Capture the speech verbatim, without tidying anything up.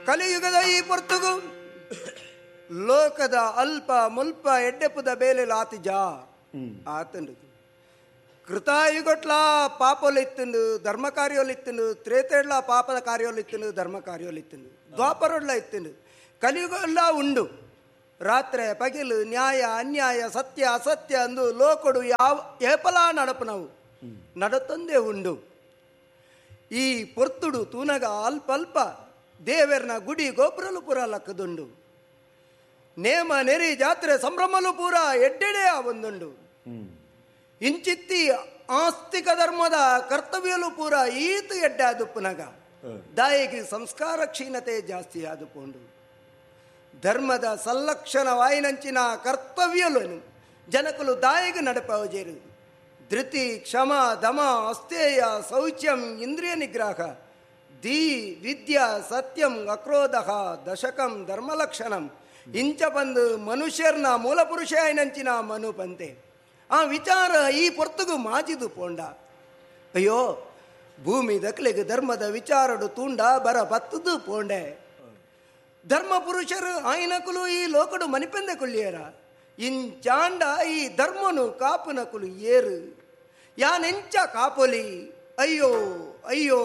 ಕಲಿಯುಗದ ಈ ಪೊರ್ತುಗು ಲೋಕದ ಅಲ್ಪ ಮುಲ್ಪ ಎಡ್ಡೆಪುದ ಬೇಲೆ ಲಾತಿಜ ಆತಂಡು. ಕೃತಾಯುಗಟ್ಲ ಪಾಪೊಲಿತ್ತುಂಡು, ಧರ್ಮ ಕಾರ್ಯೊಲಿತ್ತುಂಡು, ತ್ರೇತೆಡ್ಲ ಪಾಪದ ಕಾರ್ಯೊಲಿತ್ತುಂಡು, ಧರ್ಮ ಕಾರ್ಯೊಲಿತ್ತುಂಡು, ದ್ವಾಪರೊಡ್ಲ ಇತ್ತುಂಡು, ಕಲಿಯುಗಲ್ಲ ಉಂಡು. ರಾತ್ರೆ ಪಗಿಲು ನ್ಯಾಯ ಅನ್ಯಾಯ ಸತ್ಯ ಅಸತ್ಯ ಅಂದು ಲೋಕಡು ಯಾವ ಏಪಲಾ ನಡಪನವು ನಡತೊಂದೇ ಉಂಡು. ಈ ಪೊರ್ತುಡು ತೂನಗ ಅಲ್ಪ ಅಲ್ಪ ದೇವೆರ್ನ ಗುಡಿ ಗೋಪುರಲು ಪೂರ ಲಕ್ಕದುಂಡು. ನೇಮ ನೆರಿ ಜಾತ್ರೆ ಸಂಭ್ರಮಲು ಪೂರ ಎಡ್ಡೆಡೆ ಒಂದುಂಡು. ಇಂಚಿತ್ತಿ ಆಸ್ತಿಕ ಧರ್ಮದ ಕರ್ತವ್ಯಲು ಪೂರ ಈತು ಎಡ್ಡೆ ಆದುಪ್ಪುನಗ ದಾಯಿಗೆ ಸಂಸ್ಕಾರ ಕ್ಷೀಣತೆ ಜಾಸ್ತಿ ಆದುಪೋಂಡು. ಧರ್ಮದ ಸಂಲಕ್ಷಣ ವಾಯಿನಂಚಿನ ಕರ್ತವ್ಯలను ಜನಕಲು ದಾಯಿಗೆ ನಡಪವಜೇರು. ಧೃತಿ ಕ್ಷಮ ದಮ ಅಸ್ಥೇಯ ಶೌಚ್ಯಂ ಇಂದ್ರಿಯ ನಿಗ್ರಹ ಧೀ ವಿದ್ಯಾ ಸತ್ಯಂ ಅಕ್ರೋಧ ದಶಕಂ ಧರ್ಮಲಕ್ಷಣಂ ಇಂಚ ಬಂದು ಮನುಷ್ಯರ್ನ ಮೂಲಪುರುಷ ಐನಂಚಿನ ಮನು ಪಂತೆ ಆ ವಿಚಾರ ಈ ಪೊರ್ತುಗು ಮಾಜಿದು ಪೋಂಡ. ಅಯ್ಯೋ ಭೂಮಿ ದಕ್ಲೆಗೆ ಧರ್ಮದ ವಿಚಾರಡು ತೂಂಡ ಬರ ಬತ್ತದು ಪೋಂಡೆ. ಧರ್ಮ ಪುರುಷರು ಆಯ್ನಕುಲು ಈ ಲೋಕಡು ಮನಿಪೆಂದೆ ಕುಳ್ಳಿಯರ ಇಂಚಾಂಡ ಈ ಧರ್ಮನು ಕಾಪುನಕುಲು ಏರು ಯಾನೆಂಚ ಕಾಪೊಲಿ. ಅಯ್ಯೋ ಅಯ್ಯೋ.